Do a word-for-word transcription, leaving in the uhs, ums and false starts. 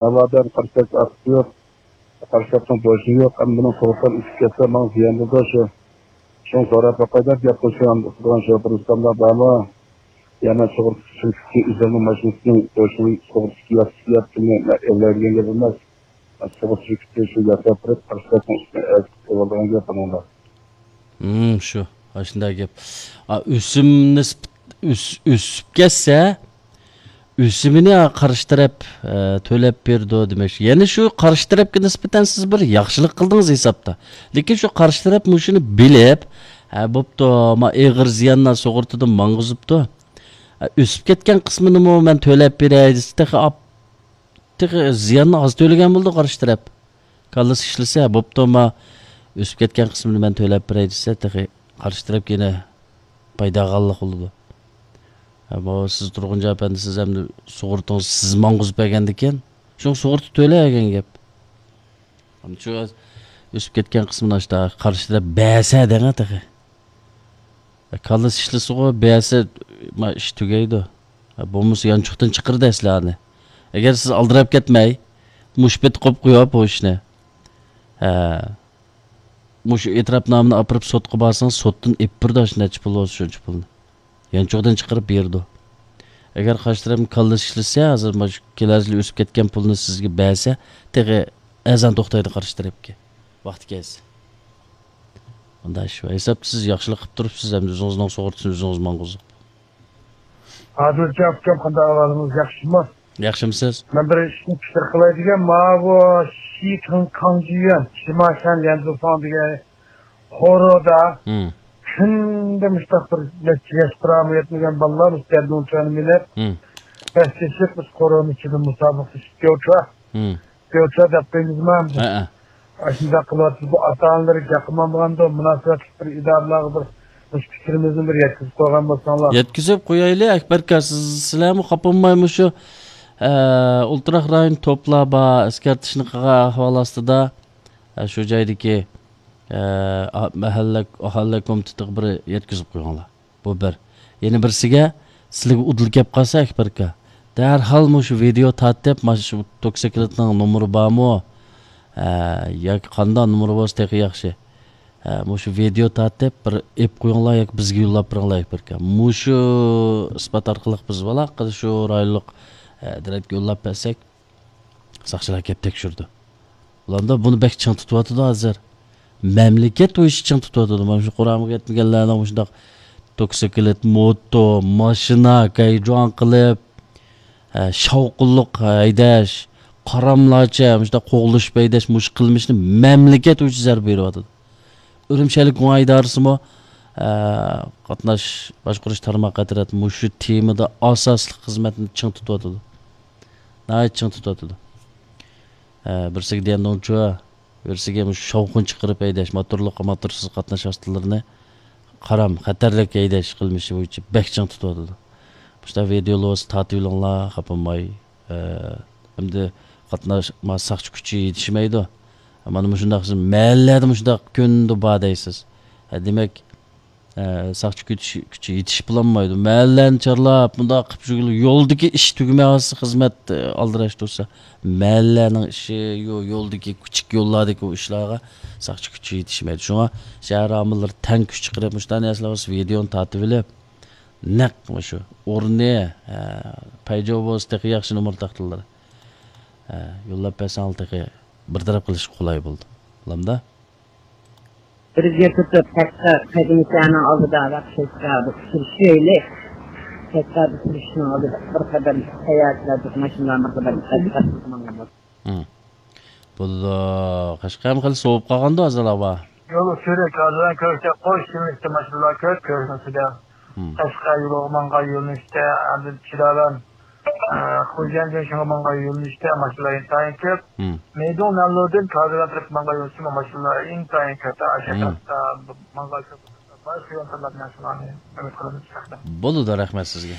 ناۋادا قارشى تەرەپ ئاكتىپى يوق، قارشى تەرەپنىڭ بوشلۇقى يوق، ئەمما بۇنىڭ سۇغۇرتىسىنى ئۆچۈپ كەتسە، ماڭا زىيان بولىدۇ شۇ. شۇڭا سوراپ باقاي دەپ گەپ قىلىشىم، ئۇستىغان شوپۇر ئۇستاملار بارمۇ؟ يەنە سۇغۇرتا شىركىتى ئۆزىنىڭ ماشىنىسىنىڭ بوشلۇقى سۇغۇرتىسى ياپتىمۇ، ئەۋلەيدىگەن گەپ ئەمەس. سۇغۇرتا شىركىتى شۇ ياساپ بېرىپ، قارشى تەرەپنىڭ ئۈستىنى ئەرز قىلىپ ئېلىۋالىدىغان گەپ بۇنىڭدا. ھىم، شۇ. ئاشۇنداق گەپ. ئا، ئۆسۈم نىسبەت-، ئۆس-، ئۆسۈپ كەتسە، ئۆسۈمىنى قارشى تەرەپ، ئە، تۆلەپ بېرىدۇ دېمەكچى. يەنى شۇ قارشى تەرەپكە نىسبەتەن سىز بىر ياخشىلىق قىلدىڭىز ھېسابتا. لېكىن شۇ قارشى تەرەپ مۇشۇنى بىلىپ، ھە، بوپتۇ، ما ئېغىر زىياننى سۇغۇرتىدىن ماڭغۇزۇپتۇ. ھە، ئۆسۈپ كەتكەن قىسمىنىمۇ مەن تۆلەپ بېرەي دېسە، تېخى ئاپ-، تېخى زىياننى ئاز تۆلىگەن بولىدۇ قارشى تەرەپ. كاللىسى ئىشلىسە، بوپتۇ، ما ئۆسۈپ كەتكەن قىسمىنى مەن تۆلەپ بېرەي دېسە، تېخى قارشى تەرەپكە يەنە پايدا ئالغانلىق بولىدۇ. ھە، بۇ سىز تۇرغۇنجان ئەپەندى، سىز ئەمدى سۇغۇرتىڭىزنى سىز ماڭغۇزۇپ بەرگەندىكىن، شۇڭا سۇغۇرتا تۆلەيدىغان گەپ. ئەمدى شۇ ئۆسۈپ كەتكەن قىسمىنى ئاشتا قارشى تەرەپ بەرسە دەڭە تېخى. كاللىسى ئىشلىسىغۇ، بەرسە، ما، ئىش تۈگەيدۇ. بولمىسا يانچۇقتىن چىقىرىدۇ ئەسلى ئانى. ئەگەر سىز ئالدىراپ كەتمەي، مۇشۇ پېتى قويۇپ قويۇپ بۇ ئىشنى. ھە. مۇشۇ ئېتىراپنامىنى ئاپىرىپ سوتقا بارسىڭىز، سوتتىن ئېلىپ بېرىدۇ، شۇ نەچچە پۇل بولسا شۇنچە پۇلنى. يانچۇقتىن چىقىرىپ بېرىدۇ. ئەگەر قارشى تەرەپنىڭ كاللىسى ئىشلىسە، ھازىر مانا شۇ كېلەر يىلى ئۆسۈپ كەتكەن پۇلنى سىزگە بەرسە، تېخى ئەزان توختايدۇ قارشى تەرەپكە. ۋاقتى كەلسە. ئۇنداق ئىش بار. ھېسابتا سىز ياخشىلىق قىلىپ تۇرۇپسىز، ئەمدى ئۆزىڭىزنىڭ سۇغۇرتىسىنى ئۆزىڭىز ماڭغۇزۇپ. ئادىلجان ئۇكام، قانداق ئەھۋالىڭىز؟ ياخشىمۇ؟ ياخشىمۇسىز؟ مەن بىر ئىشنى پىكىر قىلاي دېگەن، ماۋۇ شى كاڭ-، كاڭجىيۈەن، شىماشەن ليەنزۇفاڭ دېگەن قورۇدا ھىم. كۈندە مۇشۇنداق بىر نەچچە ياش قۇرامى يەتمىگەن بالىلار مۇشۇ دەردىڭچۇەننى مىنىپ، ھىم. بەسلىشىپ، مۇشۇ قورۇنىڭ ئىچىدە مۇسابىقىلىشىپ كەۋچۇ. ھىم. كۆرسە دەپ قويىمىزما ئەمدى؟ ھەئە. ئاشۇنداق قىلىۋاتىدۇ. بۇ ئاتا-ئانىلىرى جاقىمامغاندۇ، مۇناسىۋەتلىك بىر ئىدارىلارغا بىر مۇشۇ پىكرىمىزنى بىر يەتكۈزۈپ قويغان بولساڭلار. يەتكۈزۈپ قويايلى، ئەكبەركا، سىز، سىلەرمۇ خاپا بولماي مۇشۇ، ئە، ئولتۇراق رايون توپلار بار، ئەسكەرتىشنى قىلغان ئەھۋال ئاستىدا، ئە، شۇ جايدىكى، ئە، ئا-، مەھەللە، ئاھالىلەر كومىتېتىغا بىر يەتكۈزۈپ قويۇڭلار. بۇ بىر. يەنە بىرسىگە، سىلىگە ئۇدۇل كەپ قالسا، ئەكبەركا، دەرھال مۇشۇ ۋىدېئو تارتىپ، مانا شۇ توكسىكلىتنىڭ نومۇرى بارمۇ؟ ھە، ياكى قانداق نومۇرى بولسا تېخى ياخشى. ھە، مۇشۇ ۋىدېئو تارتىپ، بىر ئېپ قويۇڭلار ياكى بىزگە يوللاپ بېرىڭلار، ئەكبەركا. مۇشۇ ئىسپات ئارقىلىق بىز ئالاقىدە شۇ رايونلۇق، ھە، ئىدارىگە يوللاپ بەرسەك، ساقچىلار كەپ تەكشۈردى. ئۇلاردا بۇنى بەك چىڭ تۇتۇۋاتىدۇ ھازىر. مەملىكەت بويىچە چىڭ تۇتۇۋاتىدۇ. مانا شۇ قۇرامىغا يەتمىگەنلەرنىڭ مۇشۇنداق توكسىكلىت، موتو، ماشىنا، گايجۇاڭ قىلىپ، ھە، شاۋقۇنلۇق ھەيدەش، قاراملارچە مۇشۇنداق قوغلىشىپ ھەيدەش، مۇشۇ قىلمىشنى مەملىكەت بويىچە زەربە بېرىۋاتىدۇ. ئۈرۈمچى ئەھلى گۇڭا ئىدارىسىمۇ، ئە، قاتناش باشقۇرۇش تارماقى ئەترەت مۇشۇ تېمىدا ئاساسلىق خىزمەتنى چىڭ تۇتۇۋاتىدۇ. ناھايىتى چىڭ تۇتۇۋاتىدۇ. ئە، بىرسىگە ديەندوڭچۇ، بىرسىگە مۇشۇ شاۋقۇن چىقىرىپ ھەيدەش، موتورلۇق، موتورسىز قاتناش ۋاسىتىلىرىنى قارام، خەتەرلىك ھەيدەش قىلمىشى بويىچە بەك چىڭ تۇتۇۋاتىدۇ. مۇشۇنداق ۋىدېولىرىڭىزنى تارتىۋېلىڭلار، خاپا بولماي. ئە، ئەمدى قاتناش، ما، ساقچى كۈچى يېتىشمەيدۇ. مانا مۇشۇنداق سىز مەھەللىلەردە مۇشۇنداق كۈندە بار دەيسىز. ھە، دېمەك، ئە، ساقچى كۈچى، كۈچى يېتىشىپ بولالمايدۇ. مەھەللىلەرنى چارلاپ، مۇنداق قىلىپ يۈرگىلى يولدىكى ئىش تۈگىمەي قالسا، خىزمەت، ئە، ئالدىراش تۇرسا، مەھەللىلەرنىڭ ئىشى، يو-، يولدىكى كىچىك يوللاردىكى ئۇ ئىشلارغا ساقچى كۈچى يېتىشمەيدۇ. شۇڭا شەھەر ئامىللىرى تەڭ كۈچ چىقىرىپ، مۇشۇنداق نەرسىلەر بولسا ۋىدېونى تارتىۋېلىپ، نەق مۇشۇ ئورنى، ھە، پەيجو بولسا تېخى ياخشى، نومۇر تاختىلىرى. ھە، يوللاپ بەرسەڭلار تېخى بىر تەرەپ قىلىشقا قولاي بولىدۇ. بولامدا؟ بىرگە تۇتۇپ، تەشقى قەدىمىكەنىڭ ئالدىدا ۋەقىشلەشكە بىر ئۇچرىشايلى. تەشقىدە سۈرۈشنىڭ ئالدىدا بىر قەدەم ساياھەتچىلەر، ماشىنىلار بىر قەدەم تەشقىدە ماڭغان بولسا. ھىم. بولىدۇ. قەشقەرمۇ خېلى سوۋۇپ قالغاندۇ ھازىر ھاۋا. يول سۈرۈك، ھازىر كۆرسەك قوش يۆنىلىشتە ماشىنىلار كۆپ، كۆرۈنۈشىدە. ھىم. قەشقەر يولىغا ماڭغان يۆنىلىشتە، ئەمدى چىلالان، ئە، خوجەن جېڭشىڭغا ماڭغان يۆنىلىشتە ماشىنىلار ئىنتايىن كۆپ. ھىم. مەيدۇڭ نەنلۇدىن كازىغان تەرەپكە ماڭغان يۆنىلىشتىمۇ ماشىنىلار ئىنتايىن كۆپ. ئاشۇ ھىم. تەرەپتە ماڭغان كۆپ. باشقا يول تاللاپ مەن شۇلارنى ئۈمىد قىلىمىز. بولىدۇ، رەھمەت سىزگە.